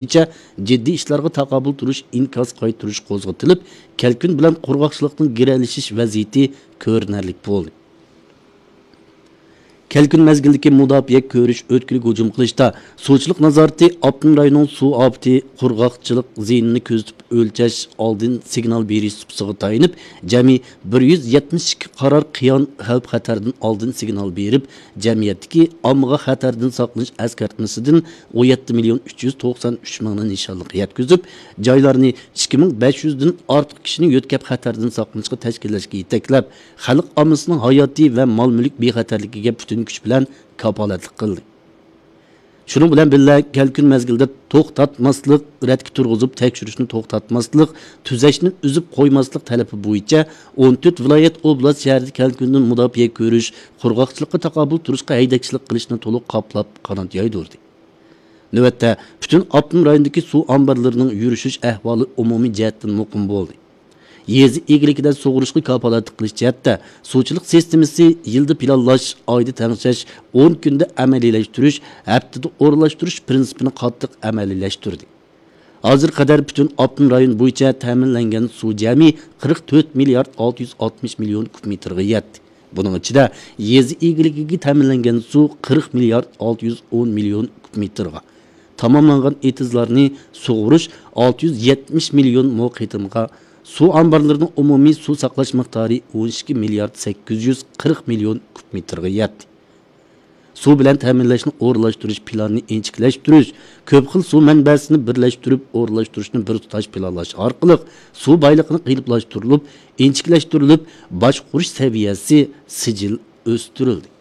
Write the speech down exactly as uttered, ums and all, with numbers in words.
بويىچە جىددىي ئىشلارغا تاقابىل تۇرۇش ئىنكاس قايتۇرۇش قوزغىتىلىپ، كەلكۈن بىلەن قۇرغاقچىلىقنىڭ گىرەلىشىش ۋەزىيىتى كۆرۈنەرلىك بولدى. كەلكۈن مەزگىلدىكى مۇداپىئە كۆرۈش ئۆتكىلىك ھۇجۇم قىلىشتا سۇچىلىق نازارىتى ئاپتونوم رايوننىڭ سۇ ئاپىتى، قۇرغاقچىلىق زىيىنىنى كۆزىتىپ ئۆلچەش، ئالدىن سىگنال بېرىش سۇپىسىغا تايىنىپ، جەمئىي بىر يۈز يەتمىش ئىككى قارار قىيان خەۋپ خەتەردىن ئالدىن سىگنال بېرىپ، جەمئىيەتتىكى ئاممىغا خەتەردىن ساقلىنىش ئەسكەرتمىسىدىن ئون يەتتە مىليون ئۈچ يۈز توقسان ئۈچ مىڭنى نىشانلىققا يەتكۈزۈپ، جايلارنى ئىككى مىڭ بەش يۈزدىن ئارتۇق كىشىنى يۆتكەپ خەتەردىن ساقلىنىشقا تەشكىللەشكە يېتەكلەپ، خەلق ئاممىسىنىڭ ھاياتى ۋە مال مۈلۈك بىخەتەرلىكىگە پۈتۈن كۈچ بىلەن كاپالەتلىك قىلدى. شۇنىڭ بىلەن بىللە، كەلكۈن مەزگىلىدە توختاتماسلىق، رەتكە تۇرغۇزۇپ تەكشۈرۈشنى توختاتماسلىق، تۈزەشنى ئۈزۈپ قويماسلىق تەلىپى بويىچە ئون تۆت ۋىلايەت، ئوبلاست، شەھەردە كەلكۈندىن مۇداپىئە كۆرۈش، قۇرغاقچىلىققا تاقابىل تۇرۇشقا ھەيدەكچىلىك قىلىشنى تولۇق قاپلاپ قانات يايدۇردى. نۆۋەتتە، پۈتۈن ئاپتونوم رايوندىكى سۇ ئامبارلىرىنىڭ يۈرۈشۈش ئەھۋالى ئومۇمىي جەھەتتىن مۇقىم بولدى. يېزا ئىگىلىكىدە سۇغۇرۇشقا كاپالەتلىك قىلىش جەھەتتە سۇچىلىق سىستېمىسى يىلدا پىلانلاش، ئايدا تەڭشەش، ئون كۈندە ئەمەلىيلەشتۈرۈش، ھەپتىدە ئورۇنلاشتۇرۇش پىرىنسىپىنى قاتتىق ئەمەلىيلەشتۈردى. ھازىرغا قەدەر پۈتۈن ئاپتونوم رايون بويىچە تەمىنلەنگەن سۇ جەمئىي قىرىق تۆت مىليارد ئالتە يۈز ئاتمىش مىليون كۇب مېتىرغا يەتتى. بۇنىڭ ئىچىدە يېزا ئىگىلىكىگە تەمىنلەنگەن سۇ قىرىق مىليارد ئالتە يۈز ئون مىليون كۇب مېتىرغا، تاماملانغان ئېتىزلارنى سۇغۇرۇش ئالتە يۈز يەتمىش مىليون مو قېتىمغا، سۇ ئامبارلىرىنىڭ ئومۇمىي سۇ ساقلاش مىقدارى ئون ئىككى مىليارد سەككىز يۈز قىرىق مىليون كۇب مېتىرغا يەتتى. سۇ بىلەن تەمىنلەشنى ئورۇنلاشتۇرۇش پىلانىنى ئىنچىكىلەشتۈرۈش، كۆپ خىل سۇ مەنبەسىنى بىرلەشتۈرۈپ ئورۇنلاشتۇرۇشنى بىر تۇتاش پىلانلاش ئارقىلىق سۇ بايلىقىنى قېلىپلاشتۇرۇلۇپ، ئىنچىكىلەشتۈرۈلۈپ، باشقۇرۇش سەۋىيەسى سىجىل ئۆستۈرۈلدى.